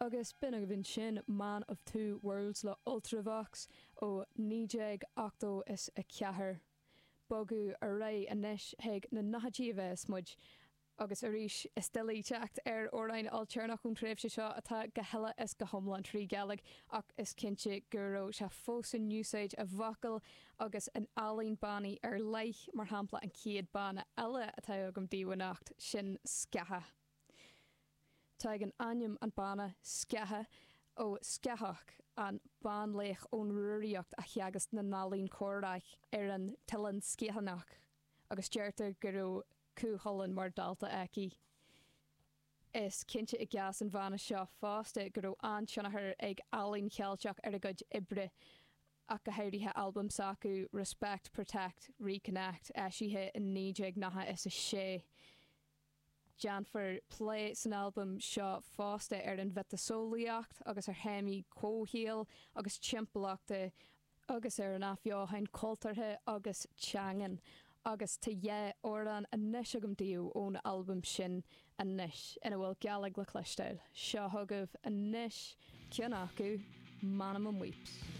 Agus b'in agaibh ansin Man of Two Worlds le Ultravox ó 1984. Bogadh ar aghaidh anois chuig na nóchaidí a bheas muid. Agus arís, is doiligh teacht ar amhráin ailtéarnach ón tréimhse seo atá go huile is go hiomlán trí Ghaeilge ach is cinnte go raibh sé fós in úsáid i bhfocail agus in ealaín bannaí ar leith, mar shampla an chéad banna eile atá agam daoibh anocht, sin Sceacha. Tagann ainm an bhanna, Sceacha, ó Scáthach, an banlaoch ón Rúraíocht a theagasc na n-ealaíon comhraic ar an tOileán Sgiathanach, agus deirtear go raibh Cú Chulainn mar dhalta aici. Is cinnte i gcás an bhanna seo fosta go raibh an-tionchar ag ealaín Cheilteach ar a gcuid oibre, ach go háirithe albam s'acu, Respect, Protect, Reconnect, eisithe in 1996. Déanfar plé san albam seo fosta ar an mhiotaseolaíocht agus ar théamaí comhshaoil agus timpeallachta agus ar an athbheochan cultúrtha agus teangan. Agus tá dhá amhrán anois agam daoibh ón albam sin anois ina bhfuil Gaeilge le cloisteáil. Seo chugaibh anois ceann acu, M'anam im' bhíops.